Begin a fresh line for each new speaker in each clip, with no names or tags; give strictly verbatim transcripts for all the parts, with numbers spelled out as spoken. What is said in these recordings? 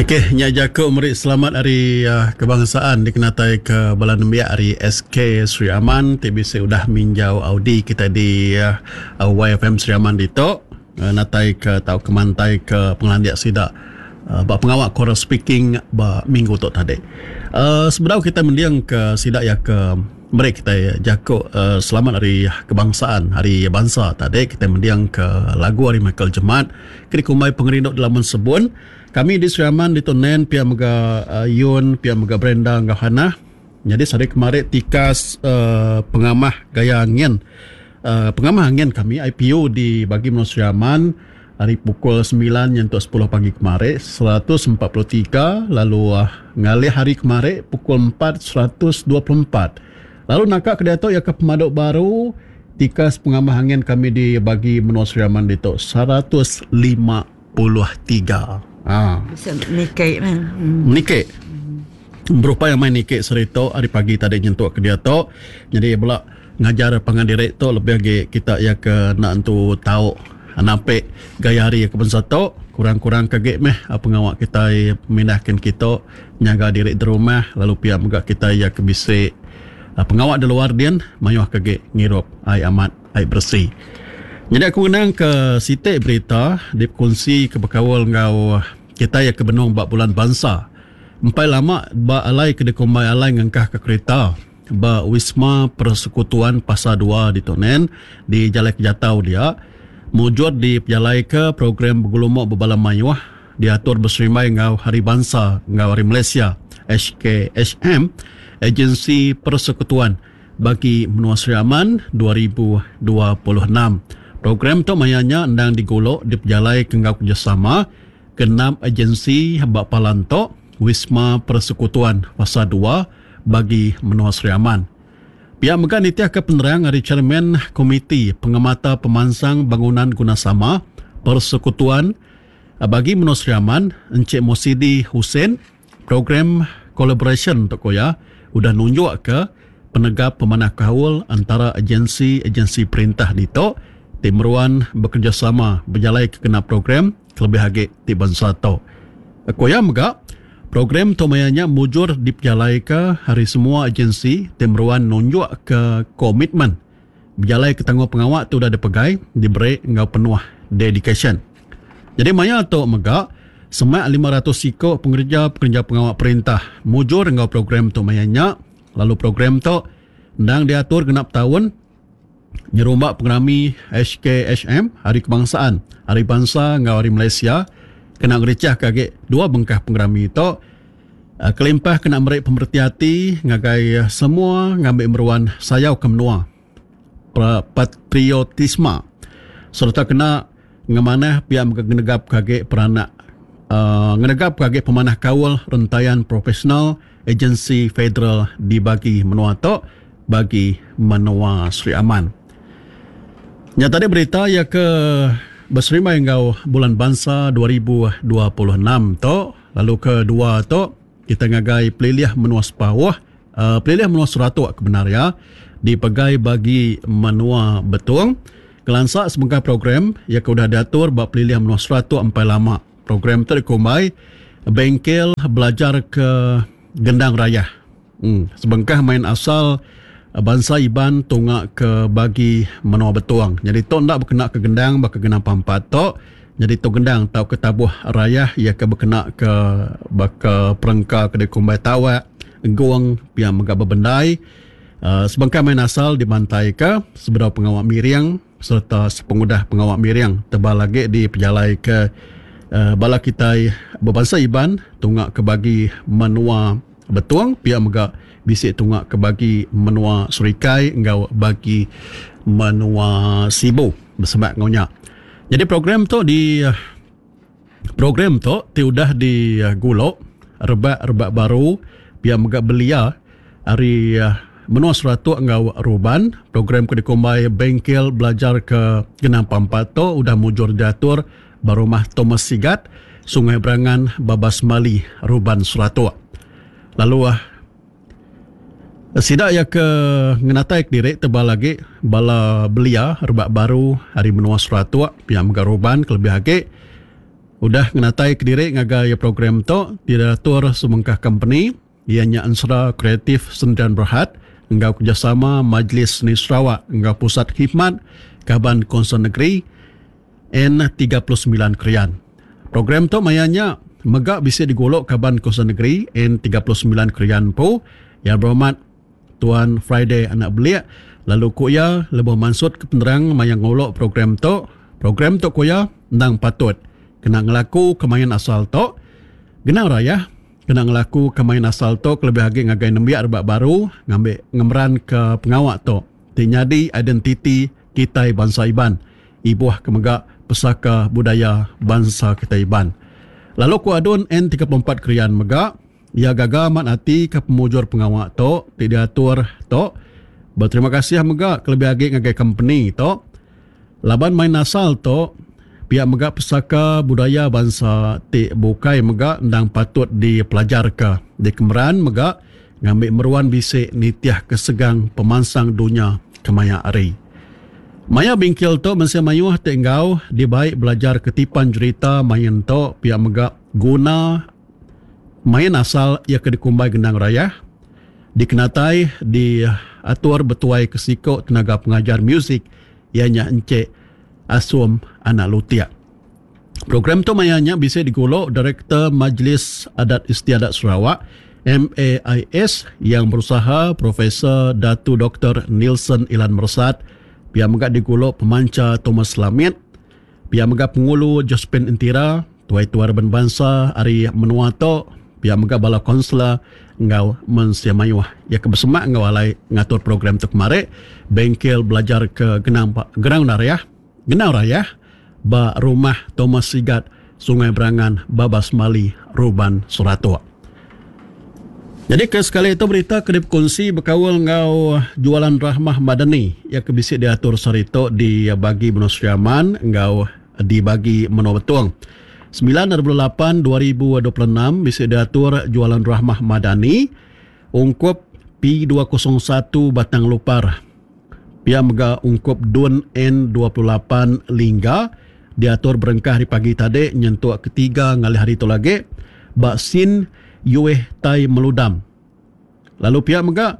Okey, nya jaku meri selamat hari uh, kebangsaan dikenatai ke bala nembiak ari S K Sri Aman ti bisi udah minjau Audi kita di uh, Y F M Sri Aman ditu uh, natai ke tau ke mantai ke pengelandik sida uh, ba pengawa choral speaking ba minggu tu tadi. Uh, sebedau kita mendiang ke sida ya ke meri kita jaku uh, selamat hari kebangsaan, hari bangsa tadi, kita mendiang ke lagu hari Michael Jemat ke dikumbai Pengerindu Delaman Sebun. Kami di Sri Aman di Tunen pia mega uh, Yun, pia mega Brenda enggau Hana. Jadi sehari kemarin tikas uh, pengamah gaya angin. Uh, pengamah angin kami I P U di bagi menua Sri Aman hari pukul sembilan nyentuk sepuluh pagi kemarin seratus empat puluh tiga, lalu uh, ngalih hari kemarin pukul empat seratus dua puluh empat. Lalu nakak ke diatu ya ke pemaduk baru tikas pengamah angin kami di bagi menua Sri Aman ditu seratus lima puluh tiga. Ha.
Bisa nikik man. Hmm.
Nikik. Berupaya main nikik serito hari pagi tadi nyentuk ke dia tu. Jadi bela ngajar pangan diri tu lebih lagi kita ya ke nak entu tau nampik gaya hari ke bangsa tu kurang-kurang kagek meh pengawa kita mindahkan kita nyaga diri di rumah, lalu pia mega kita ya ke bisi pengawa di luar dian mayuh kagek ngirup ai amat ai bersih. Jadi aku ngenang ke sitik berita dikongsi ke berkawal ngau kita yang ke benung bak bulan bangsa. Empai lama ba alai ke dikumbai alai ngengkah ke kereta ba Wisma Persekutuan Pasar dua di Tonen di Jalai Kejatau dia mujur di pejalai ke program bergulumok berbala mayuh diatur berserimbai ngau Hari Bangsa ngau Hari Malaysia H K H M Agensi Persekutuan bagi Menua Sri Aman dua ribu dua puluh enam. Program tu mayanya endang digulok di pejalai ke ngau kerjasama ke enam agensi bak Palanto Wisma Persekutuan Fasa dua bagi Menua Sri Aman. Pihak mega nitiah ke penerang hari Chairman Komiti Pengemata Pemansang Bangunan Gunasama Persekutuan bagi Menua Sri Aman Encik Mosidi Hussein, program collaboration untuk koya udah nunjuk ke penegap pemanah kaul antara agensi-agensi perintah dito tim meruan bekerjasama berjalai ke kena program kelebih agi ti bangsa tu. Koya mega program tu mayanya mujur dipejalai ke hari semua agensi tim meruan nunjuk ke komitmen berjalai ke tanggung pengawak tu dah dipegai diberi enggau penuh dedication. Jadi maya tu mega semak lima ratus siko pengerja-pengerja pengawak perintah mujur enggau program tu mayanya, lalu program tu endang diatur genap tahun nyerumbak pengerami H K H M Hari Kebangsaan, Hari Bangsa enggau Hari Malaysia kena ngericah kage dua bengkah pengerami tu kelimpah kena meri pemerti hati ngagai semua ngambil meruan sayau ke menua patriotisme serta kena ngemanah pihak ngenegap kage peranak uh, ngenegap kage pemanah kaul rentayan profesional agensi federal dibagi menua tu bagi menua Sri Aman. Nya tadi berita ya ke berserimbai enggau Bulan Bangsa dua ribu dua puluh enam tu, lalu kedua tu kita ngagai pelilih menua Sepauh, uh, pelilih menua Seratuk kebenar ya, dipegai bagi menua Betong. Kelansak sebengkah program ya ke udah diatur ba pelilih menua Seratuk empai lama. Program tu dikumbai Bengkel Belajar ke Gendang Raya. Hmm, sebengkah main asal bangsa Iban tunga ke bagi menua Betong. Jadi tu ndak berkena ke gendang baka gendang pampat tu. Jadi tu gendang tau ke tabuh raya ia ke berkena ke baka perengka ke dikumbai tawak, gong, pia mega bebendai. Uh, sebengkah main asal dibantai ke sebedau pengawak miring serta sepengudah pengawak miring tebal lagi di pejalai ke uh, bala kitai berbangsa Iban tunga ke bagi menua Betong, pia mega bisi tunga ke bagi menua Serikai enggau bagi menua Sibu bersebab ngaunya. Jadi program tu di program tu ti udah digulok rebak-rebak baru pia mega belia ari menua Seratuk enggau Ruban. Program ke dikumbai Bengkel Belajar ke Genang Pampat tu udah mujur diatur ba rumah Thomas Sigat, Sungai Berangan, Babas Mali, Ruban Seratuk. Lalu ah sidak ya ke ngenatai diri tebal lagi bala belia rebak baru hari menua Seratuk pihak mega Ruban kelebih agi Udah ngenatai kediri ngagai program tu diatur sebengkah company ianya Ensera Kreatif Sendirian Berhad enggau kerjasama Majlis Seni Sarawak enggau Pusat Khidmat Kaban Konsel Negeri N tiga puluh semilan Krian. Program tu mayanya mega bisa digolok Kaban Konsel Negeri N tiga puluh semilan Krian po yang berhormat Tuan Friday Anak Belik. Lalu ku ia lebuh mansut ke penerang maya ngolok program tu. Program tu ku ia endang patut kena ngelaku kemain asal tu. Genang raya kena ngelaku kemain asal tu kelebih lagi ngagai nembiak rebak baru ngambil ngemeran ke pengawak tu ti nyadi identiti kita bangsa Iban. Ibuh ke mega pesaka budaya bangsa kita Iban. Lalu ku adun N tiga puluh empat Krian mega ia gagal amat hati ke pemujur pengawak tu ti diatur tu. Berterima kasih mega kelebih lagi ngagai company tu. Laban main asal tu pihak mega pesaka budaya bangsa ti bukai mega endang patut dipelajarka. Di kemeran mega ngambil meruan bisik nitiah kesegang pemansang dunia kemaya hari. Maya bingkil tu mensia mayuh ti enggau dibaik belajar ketipan cerita main tu pihak mega guna main asal ia ke dikumbai gendang raya dikenatai di atur betuai kesiko tenaga pengajar muzik ianya Encik Asum Anak Lutiak. Program tu mayanya bisa digolok Direktur Majlis Adat Istiadat Sarawak M A I S yang berusaha Profesor Datu Doktor Neilson Ilan Mersat, pihak mega digolok pemanca Thomas Lamit, pihak mega pengulu Josephine Entira, tuai-tuai raban bangsa ari menua tu, pihak mega bala konselor enggau mensia mayuh. Ya ke bersemak enggau alai ngatur program tu kemari bengkel belajar ke Genang Gerang Raya, Genang Raya ba rumah Thomas Sigat Sungai Berangan Babas Mali Ruban Seratuk. Jadi ke sekali itu berita ke dikongsi berkaul enggau jualan Rahmah Madani yang ke bisi diatur sarito di bagi Menua Sri Aman enggau di bagi Menua Betong. sembilan lapan dua ribu dua puluh enam bisi diatur jualan Rahmah Madani ungkup P dua kosong satu Batang Lupar. Pia mega ungkup Dun N dua puluh lapan Lingga diatur berengkah hari pagi tadi nyentuk ketiga ngalih hari tu lagi bak Sin Yueh Tai Meludam. Lalu pihak mega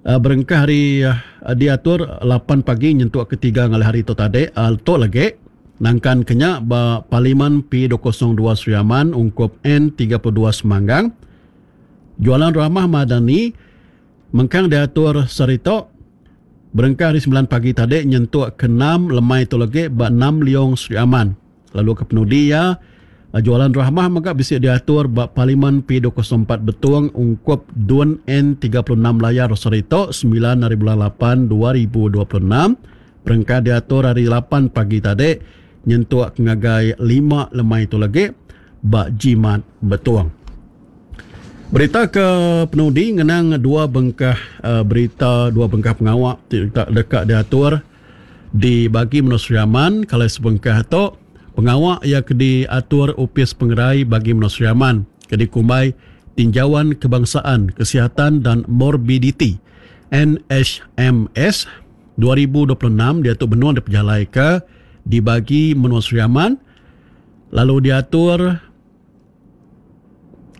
uh, berengkah hari uh, diatur lapan pagi nyentuk ketiga ngalih hari tu tadi uh, tu lagi nangkan kenya ba Parlimen P dua kosong dua Sri Aman ungkup N tiga puluh dua Semanggang. Jualan Rahmah Madani mengkang diatur serito berengkah hari sembilan pagi tadi nyentuk ke enam lemai tu lagi ba enam Liong Sri Aman. Lalu ke penudi ya jualan Rahmah mega bisa diatur ba Parlimen P dua kosong empat Betong ungkup Dun N tiga puluh enam Layar Serito sembilan hari bulan lapan dua ribu dua puluh enam. Berengkah diatur hari lapan pagi tadi nyentuk ngagai lima lemai tu lagi ba Jimat Betong. Berita ke penudi ngenang dua bengkah uh, berita dua bengkah pengawak ti dekat diatur di bagi Menua Sri Aman. Kalau sebengkah tu pengawak yang diatur Upis Pengerai bagi Menua Sri Aman ke dikumbai Tinjauan Kebangsaan Kesihatan dan Morbiditi N H M S dua ribu dua puluh enam diatur benua diperjalai ke dibagi Menua Sri Aman. Lalu diatur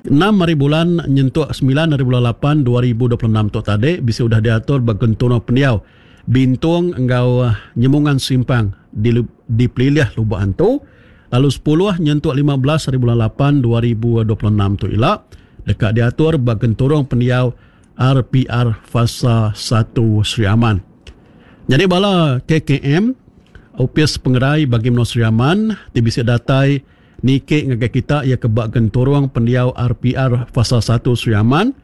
enam hari bulan nyentuk sembilan hari bulan lapan dua ribu dua puluh enam tu tadi bisa sudah diatur bagentono pendiau Bintung enggau Nyemungan Simpang di, di Pelilih Lubuk Antu. Lalu sepuluh nyentuk lima belas hari bulan lapan dua ribu dua puluh enam tu ila dekat diatur bagentorong pendiau R P R Fasa satu Sri Aman. Jadi bala K K M Upis Pengerai bagi Menua Sri Aman ti bisa datai nike ngagai kita ia ke bak gentorong pendiau R P R Fasa satu Sri Aman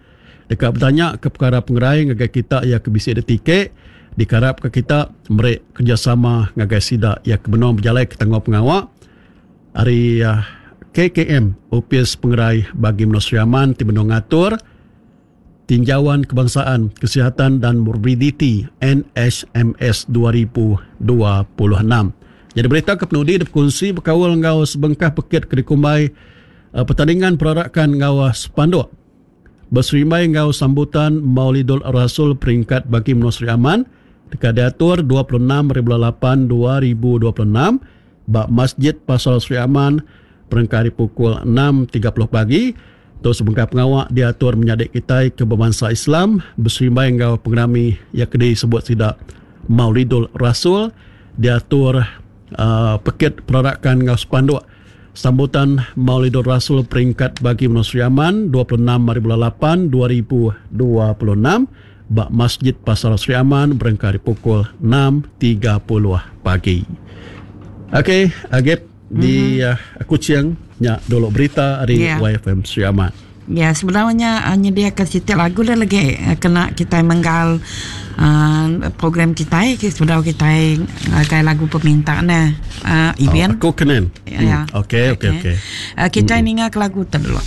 dekat bertanya ke perkara pengerai ngagai kita ia ke bisi ada tiket dikarap ke kita merek kerjasama ngagai sida ia ke benua berjalai ke tanggung pengawak hari uh, K K M Upis Pengerai bagi Menua Sri Aman ti benua ngatur Tinjauan Kebangsaan Kesihatan dan Morbiditi N H M S dua ribu dua puluh enam. Jadi berita ke penudi berkongsi berkawal ngau sebengkah pekit ke dikumbai uh, pertandingan perarakan ngau sepanduk berserimbai ngau sambutan Maulidul Rasul peringkat bagi Menua Sri Aman dekat diatur dua puluh enam hari bulan lapan dua ribu dua puluh enam bak Masjid Pasar Sri Aman berengkah ari pukul enam tiga puluh pagi. Tu sebengkah pengawa diatur menyadi kitai ke bebansa Islam beserimbai enggau pengerami iya ke disebut sida Maulidul Rasul, diatur uh, pekit perarakan enggau sepanduk sambutan Maulidul Rasul peringkat bagi menua Sri Aman dua puluh enam hari bulan lapan dua ribu dua puluh enam ba Masjid Pasar Sri Aman berengkah ari pukul enam tiga puluh pagi. Okey, Agip di mm-hmm. uh, Kuching nya dulu berita ari yeah. Y F M Sri Aman.
Ya, sebenarnya uh, nyediakan siti lagu dah lagi uh, kena kita menggal uh, program kita sebenarnya kita uh, lagu permintaan nah uh, Ibian.
Oh, aku kenen.
Ya.
Hmm. Okey, okey, okey.
Uh, kita mm-hmm. ninga ke lagu tu dulu.